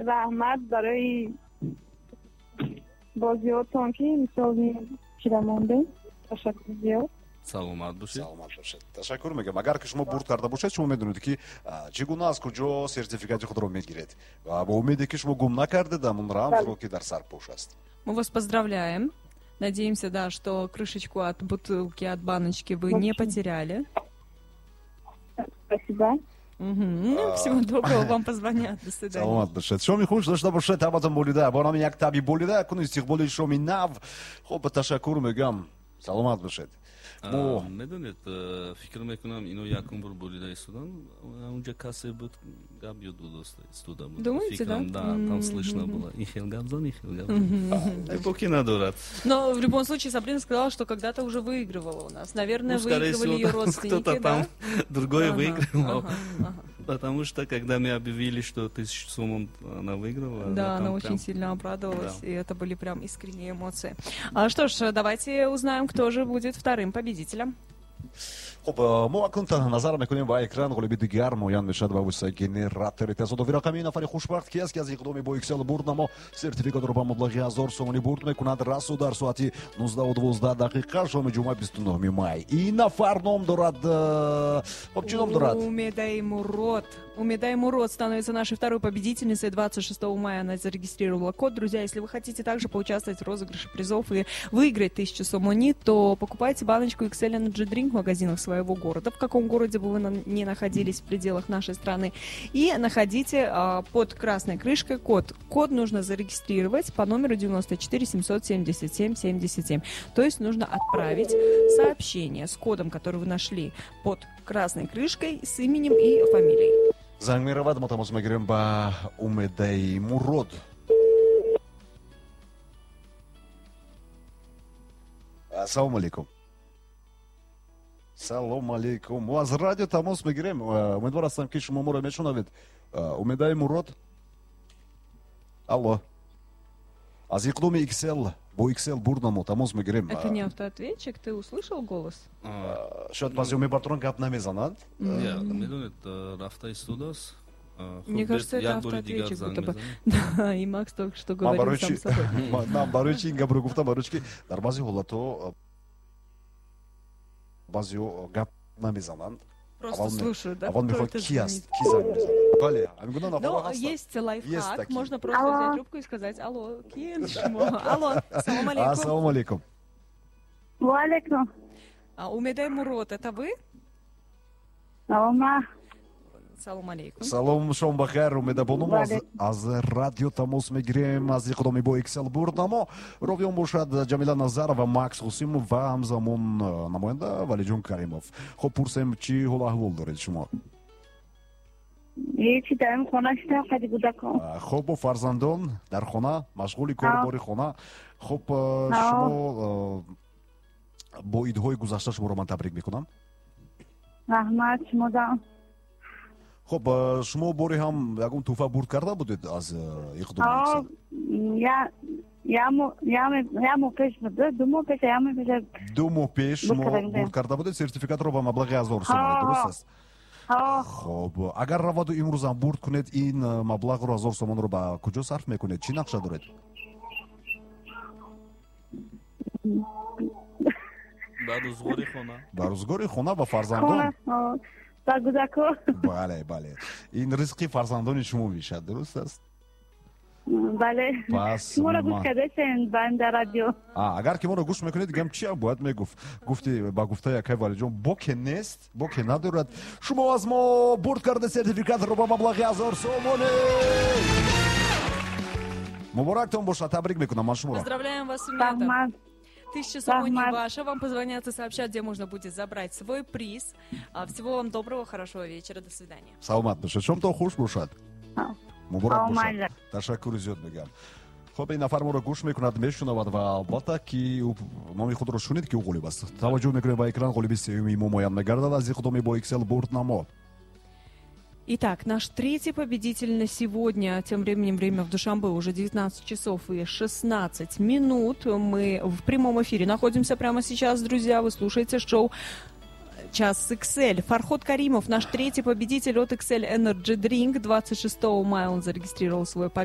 Раҳмат барои бозиҳотон, ки мисол чира мондем. Ташаккур зиёд. Саломат бошед. Саломат бошед. Ташаккур мегӯям. Агар ки шумо бурд карда бошед, шумо медонед, ки чӣ гуна, аз куҷо сертификати худро мегиред, ва бо умеде, ки шумо гум накардед ҳамун рамзро, ки дар сарпӯш аст. Мы вас поздравляем. Надеемся, да, что крышечку от бутылки, от баночки вы не потеряли. Спасибо. Ну, всего доброго, вам позвонят. До свидания. Саломат бошед. Шоми хуш дошта бошед, табатон болида. Бо номи як таби болида, кун истиқболи шоми нав. Хуб, ташаккур мегӯям. Саломат бошед. Медонед, фикр мекунам, ино якум бор болида истодан, унҷа касе буд, гап ёд истода буд. Думаете, да? Да, там слышно было. И хел гап зан, и хел гап зан. Боки надорад. Но в любом случае Сабрина сказала, что когда-то уже выигрывала у нас. Наверное, ну, скорее выигрывали всего, ее родственники, кто-то да? Там другой выигрывал. Потому что, когда мы объявили, что 1000 сомон она выиграла... Да, она очень прям сильно обрадовалась, да. И это были прям искренние эмоции. А что ж, давайте узнаем, кто же будет вторым победителем. Хуб, мо акнун назар мекунем ба экран, ғолиби дигар муайян мешавад ба воситаи генератори тасодуфи рақамии. Нафари хушбахт ки аст, ки аз иқдоми бо XL бурд намо сертификатро ба маблағи 1000 сомонӣ бурд мекунад расу дар соати 19:12 шоми ҷумъа, 29 май? Ин нафар ном дорад, хуб, чӣ ном дорад? Умедай Мурод. Умедай Мурод становится нашей второй победительницей. 26 мая она зарегистрировала код. Друзья, если вы хотите также поучаствовать в розыгрыше призов и выиграть 1000 сомони, то покупайте баночку XL Energy Drink в магазинах своего города, в каком городе бы вы ни находились в пределах нашей страны, и находите под красной крышкой код. Код нужно зарегистрировать по номеру 94 777 77. То есть нужно отправить сообщение с кодом, который вы нашли под красной крышкой, с именем и фамилией. Занг меравад, мо тамос мегирем ба Умедаи Мурод. Ассалому алейкум. Салом алейкум. Мо аз радио тамос мегирем. Умедвор ҳастам, ки шумо моро мешунавед. Умедаи Мурод, алло. Аз иқдоми XL, бо XL бурдамо тамос мегирем. Это не автоответчик, ты услышал голос? Шояд баъзеҳо мебардоранд, гап намезананд. Медонед, рафта истодааст. Мне кажется, это автоответчик, будто бы. Да, и Макс только что говорил сам собой. Ман барои чи ин гапро гуфтам? Барои чи ки дар баъзе ҳолатҳо баъзеҳо гап намезананд. Просто слушают, да? Аввал мехоҳад, ки аст, ки занг мезанад. Бале, ҳамин гуна нафарҳо Но ҳастанд. есть лайфхак, такие. Можно просто взять трубку и сказать: «Алло, киен шумо? Алло, салом алейкум». Ассалому алейкум. Ваалейкум. А, Умедай Мурод, это вы? Салома. Салом алейкум. Салом, шом бахайр, Умедабону. Мо Бале. Аз радио тамос мегирем, аз иқдоми бо XL бурдамо. Ровиён бошад Ҷамила Назарова, Макс Ғусимов ва ҳамзамон намоянда Валиҷон Каримов. Хуб, пурсем, чӣ ҳол аҳвол доред шумо? Ҳечи, дар хона шидам, қади кӯдакон. Хуб, бо фарзандон дар хона машғули корубори хона. Хуб, шумо бо идҳои гузашта шуморо ман табрик мекунам. Раҳмат шумодам. Хуб, шумо бори ҳам ягон тӯҳфа бурд карда будед аз иқдоми XL? Я моҳ пеш буд, 2 моҳ пеш, я моҳ пеш. 2 моҳ пеш шумо Бурд карда будем. бурд карда будед сертификатро ба маблағи 1000 сомонӣ, дуруст аст? Ҳо. Хуб, агар раваду имрӯзам бурд кунед, ин маблағро, 1000 сомонро ба куҷо сарф мекунед, чӣ нақша доред? Ба рӯзғори хона. Ба рӯзгори хона, ба фарзандон. Хона, ҳо. Ба кӯдако. Бале, ин ризқи фарзандони шумо мешавад, дуруст аст? Бале. Пас Шуморо гӯш кардасен ба дар радио. А, агар ки моро гӯш мекунед, дигам чиам бояд мегуфт? Гуфти, ба гуфтаи акай Валиҷон, боке нест, боке надорад. Шумо аз мо бурд карда сертификатро ба маблағи 1000 сомонӣ. Муборактон бошад, табрик мекунам ман шуморо. Поздравляем вас, Умеда. Раҳмат. 1000 сомони Раҳмат. ваша. Вам позвонят и сообщат, где можно будет забрать свой приз. Всего вам доброго, хорошего вечера. До свидания. Саломат бошед, шомтон хуш бошад, муборак бошад. Омада. Ташаккури зиёд мегӯям. Хуб, ин нафар моро гӯш мекунад, мешунавад ва албатта, ки ӯ номи худро шунид, ки ӯ ғолиб аст. Таваҷҷӯҳ мекунем ба экран, ғолиби сеюми мо муайян мегардад аз иқдоми бо XL бурд намо. Итак, наш третий победитель на сегодня. Тем временем время в Душанбе уже 19 часов и 16 минут. Мы в прямом эфире находимся прямо сейчас, друзья. Вы слушаете шоу «Час XL». Фарход Каримов, наш третий победитель от XL Energy Drink. 26 мая он зарегистрировал свою победу.